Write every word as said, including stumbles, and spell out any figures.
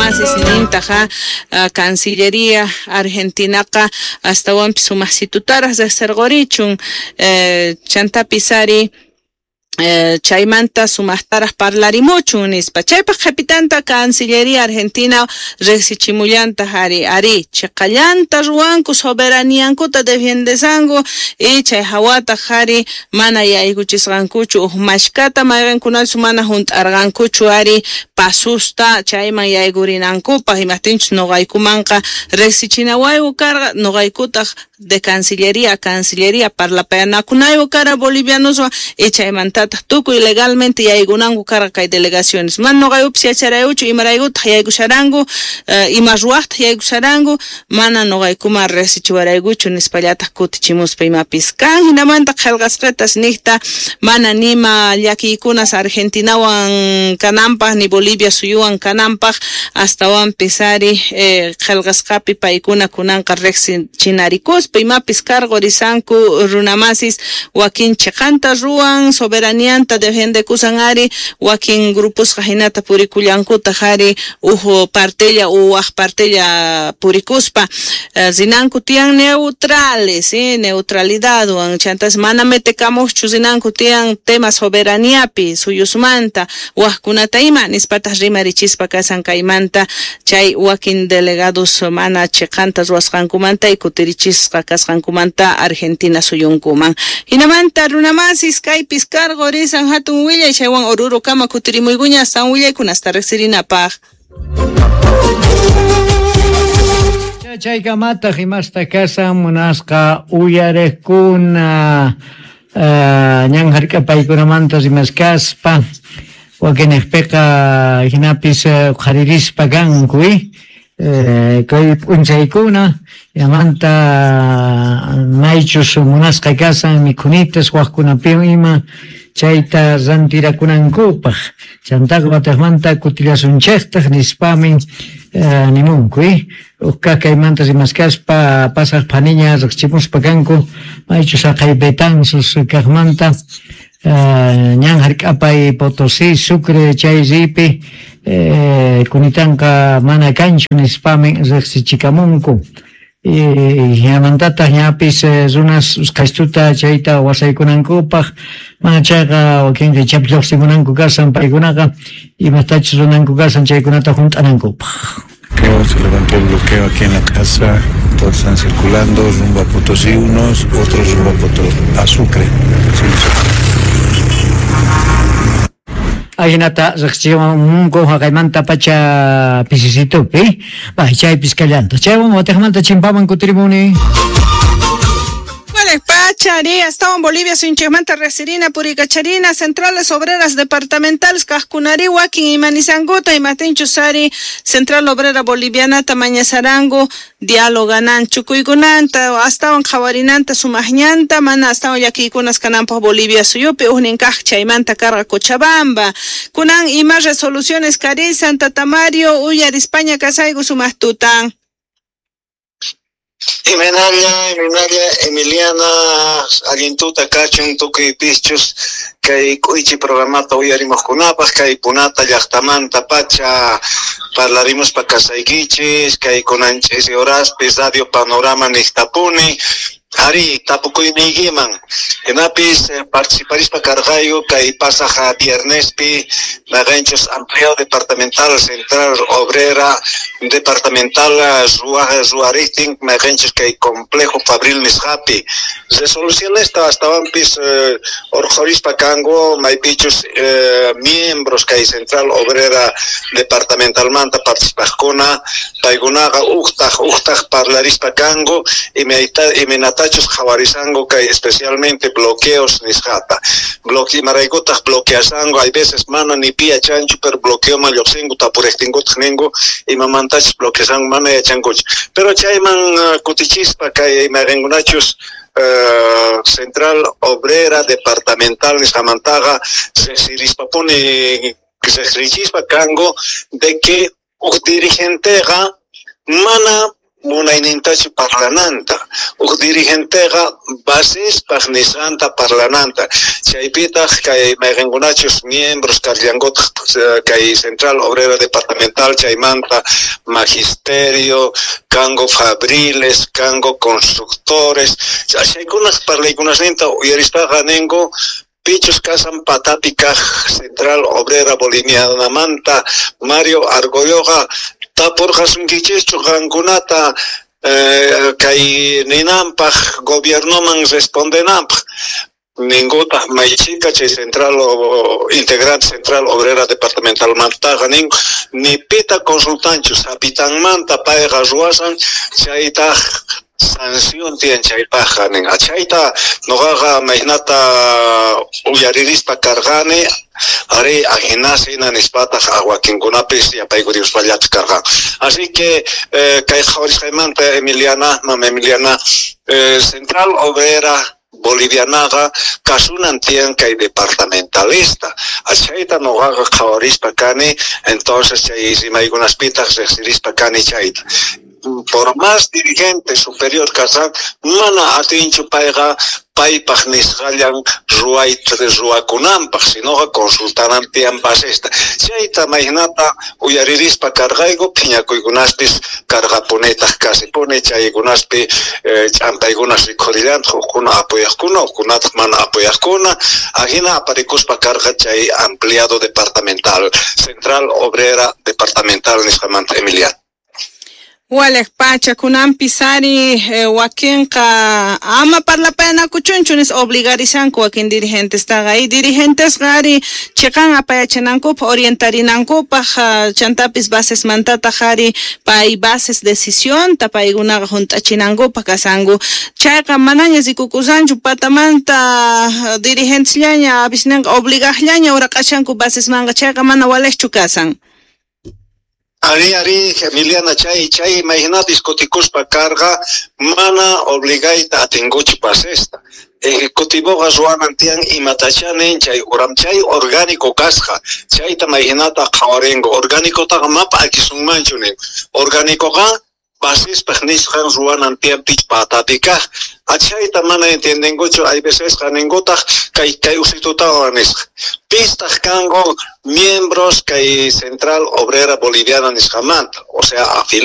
Runamasis nintaja Cancillería Argentinaqa astawanpis sumaqsitutaraq riqsirqurichun eh, chantapis ari Eh, chaymanta sumaqtaraq parlarimuchun nispa. Chaypaq qhipitanta Cancillería Argentina riqsichimullantaq ari ari chiqallanta ruwanku soberaniankuta defiendesanku y chay hawataq ari mana yaykuchisqankuchu uj mashkata mayqinkunachus mana hunt'arqankuchu ari pasusta chayman yaykurinankupaq imaptinchus nuqaykumanqa riqsichinawayku karqa nuqaykutaq de Cancillería a Cancillería parlapayanakunayku kara bolivianoswan y chaymanta tukuy legalmente yaykunanku karqa kay delegaciones mana nuqaykupis yacharaykuchu imaraykutaq yaykusharanku uh, ima ruwaqtaq yaykusharanku mana nuqaykuman riqsichiwaraykuchu nispallataq kutichimuspa imapis kan. Hinamanta qillqasqatas niqta mana nima llakiykunas Argentinawan kananpaq ni Bolivia suyuwan kananpaq astawanpis ari eh, qillqasqapi paykuna kunanqa riqsichinarikuspa imapis karqurisanku runamasis wakin chiqanta ruwan soberanianta defiendekusan ari wakin gruposqa hinata purikullankutaq ari uj partella u waj partella purikuspa eh, rinanku tiyan neutrales eh, neutralidadwan chantas mana metekamuqchu rinanku tiyan tema soberaniapi suyusmanta wajkunata ima nispataq rimarichispa kasan kaymanta chay wakin delegados mana chiqanta ruwasqankumanta y kutirichisqa kasqankumanta Argentina suyunkuman. Hinamanta runamasis kaypis cargo risan hatun willay chaywan Oruro kama kutirimuykuña astawan willaykunasta riqsirinapaq. Chaykamataq imasta kasan munasqa uyariqkuna uh, ñan hark'apaykunamanta rimaskaspa wakinniqpiqa hinapis qharirispa kanku eh, kay p'unchaykuna yamanta maychus munasqa kasan mikhunitas waqkunapiwan ima chayta rantirakunankupaq chantaqa wataqmanta kutillasunchiktaj nispamin eh, nimunku eh? Uqkaq kaymanta rimaskaspa pasaq phaniña riqchimuspa kanku maychus haqay Betanzos kaqmanta eh, ñan hark'apay Potosí Sucre chay ripi eh, kunitanqa mana kanchu nispamin riqsichikamunku hinamantataq ñapis runas usqhaystuta chayta wasaykunankupaq mana chayqa wakinqa ichapas lluqsimunanku kasan paykunaqa imatachus runanku kasan chaykunata hunt'anankupaq. Se levantó el bloqueo aquí en la casa, todos están circulando rumbo a Potosí unos, otros rumbo a Potosí, a Sucre. Sí, Ajinata riqsichimunku haqaymanta pacha pisisitupi bay chaypis kallanta chaywan wataqmanta chimpaman kutirimuni. Pachari, hasta en Bolivia, Sunchemanta, Resirina, Puricacharina, Centrales Obreras Departamentales, Cajcunari, Huaquín y Manizanguta, y Matinchusari, Central Obrera Boliviana, Tamañazarango, Dialoganan, Chucuygunanta, hasta en Jawarinanta, Sumajñanta, Mana, hasta en Yaquicunas, Canampa, Bolivia, Suyupi, Ujnincaj, Chaymanta, Carga, Cochabamba, Cunan y más resoluciones, Cari, Santa Tamario, Uyar, España, Casaigo, Sumajtutan. Imenalla, Imenalla, Emiliana, allintuta kachun tukuy pischus kay k'uychi programata uyarimuqkunapaq kay punata llaqtamanta pacha parlarimuspa kasaykichis kay kunanchis horaspis Radio Panorama niqtapuni. Ari, tapukuyniykiman hinapis eh, participarispa karqayku kay pasaq viernespi mayqinchus Amplio Departamental Central Obrera Departamental ruwariqtin mayqinchus kay Complejo Fabril nisqapi resolucionesta astawanpis eh, urqhurispa kanku maypichus eh, miembros kay Central Obrera Departamentalmanta participaqkuna paykunaqa uqtaq uqtaq parlarispa kanku imayta imaynata qhawarisanku kay especialmente bloqueos nisqata bloque imaraykutaq bloqueasanku hay veces mana ni pi yachanchu pero bloqueoman lluqsinku tapuriqtinkutaq ninku imamantachus bloqueasanku mana yachankuchu pero chayman uh, kutichispa kay mayqinkunachus Uh, Central Obrera Departamental nisqamantaqa riqsirispapuni riqsichispa kanku de que uj dirigenteqa mana munaynintachu parlananta, uj dirigenteqa basespaj nisqanta parlananta, chaypitaq kay mayqinkunachus miembros karllankutaq kay Central Obrera Departamental chaymanta magisterio, kango fabriles, kango constructores, chaykunaj parlaykunasninta uyarispaqa ningu pichus kasan patapi kaj Central Obrera Bolivianamanta Mario Argolloqa tapurqasunkichischu qankunata eh, kay ninanpaj gobiernoman respondenanpaj ningutaq maychika chay Central o, integrante Central Obrera Departamental mantaqa nin ni pita consultanchu sapitanmanta payqa ruwasan chaytaq sanción tiyan chaypajqa nin achayta noqaqa maynata uyaririspa karqani ari ajinasina nispataq wakinkunapis yapaykurispallataj karqan. Así que eh, kay qhawarisqaymanta Emiliana, mama Emiliana, eh, Central Obrera Bolivianaqa kasunan tiyan kay departamentalista. Achayta noqaqa qhawarispa kani, entonces chay rimaykunaspitaq riqsirispa kani chayta. Por más dirigente superior kasan, mana atinchu payqa paypaj nisqallan ruwayta ruwakunanpaj, sinoqa consultanan tiyan basesta. Chayta maynata uyaririspa karqayku, phiñakuykunaspis karqapunitaq kasipuni, chaykunaspi eh, ch'ampaykunas rikhurillantaq, hukkuna apoyaqkuna, hukkunataq mana apoyaqkuna, ajina aparikuspa karqa chay ampliado departamental, Central Obrera Departamental nisqamanta Emiliano. Walej pacha kunanpis ari eh, wakinqa ama parlapayanakuchunchu nis obligarishanku wakin dirigentestaqa y dirigentesqa ari chiqan apayachinankupaj orientarinankupaj uh, chantapis basesmantataq ari pay bases decisionta paykunaqa junt'achinankupaj kasanku chayqa manaña rikukusanchu patamanta uh, dirigentesllaña avisninqa obligaqllaña uraqashanku basesmanqa chayqa mana walejchu kasan. Ari, ari, Emiliana, chay, chay, imagina discutikuspa carga, mana obligayta atinguchu basesta. Ejecutivoqa ruwanan tiyan imatachanin chay uram chay orgánico kasqa, chayta imaginata qhawarinku, orgánicotaqa mapa akisunmanchu nin. Orgánicoqa basespaj nisqan ruwanan tiyan pich patapi kaj. Achayta mana entiendenkuchu, hay veces ninkutaq kay kay usitutawan nisqa. Pistaq kanku miembros kay Central Obrera Boliviana nisqamanta, o sea, afiliados.